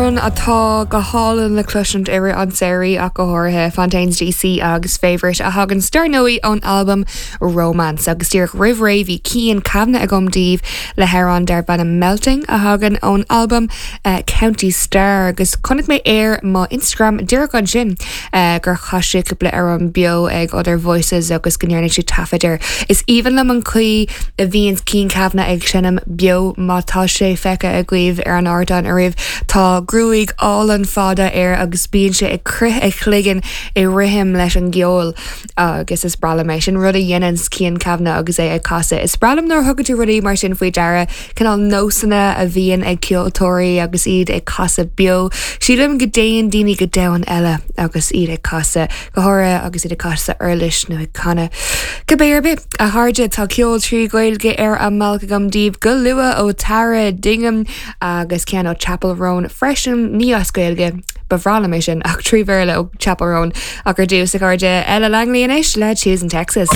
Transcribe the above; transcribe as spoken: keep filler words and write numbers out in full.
Amhrán atá go hálainn le cloisint i rith an tsamhraidh ach go háirithe Fontaines DC agus Favourite a thagann dar ndóigh ón albam Romance agus díreach roimh ré bhí Cian Kavanagh agam daoibh le hamhrán darb ainm Melting a thagann ón albam uh, County Star agus chonaic mé ar mo Instagram díreach ansin uh, gur chas sé cúpla amhrán beo ag Other Voices agus go ndearna sé taifead air. Is aoibhinn liom an chaoi a bhíonn Cian Kavanagh ag seinm beo má tá sé feicthe agaibh ar an ardán ariamh Tá gruaig álainn fada air agus bíonn sé ag croitheadh a chloigeann i rithim leis an gceol agus is breá liom é sin rud a dhéanann Cian Kavanagh agus é ag casadh. Is breá liom nuair a thugann tú rudaí mar sin faoi deara cineál nósanna a bhíonn ag ceoltóirí agus iad ag casadh beo. Sílim go dtéann daoine go domhan eile agus iad ag casadh go háirithe agus iad ag casadh uirlis nó ag canadh. Cibé ar bith a chairde tá ceol trí Ghaeilge ar an mbealach agam daoibh go luath ó Tara Dignam agus ceann ó Chappell Roan freisin ní as Gaeilge ba bhreá liom é sin ach trí Bhéarla ó Chappell Roan ach ar dtús a chairde Ella Langley anois le Choosing Texas.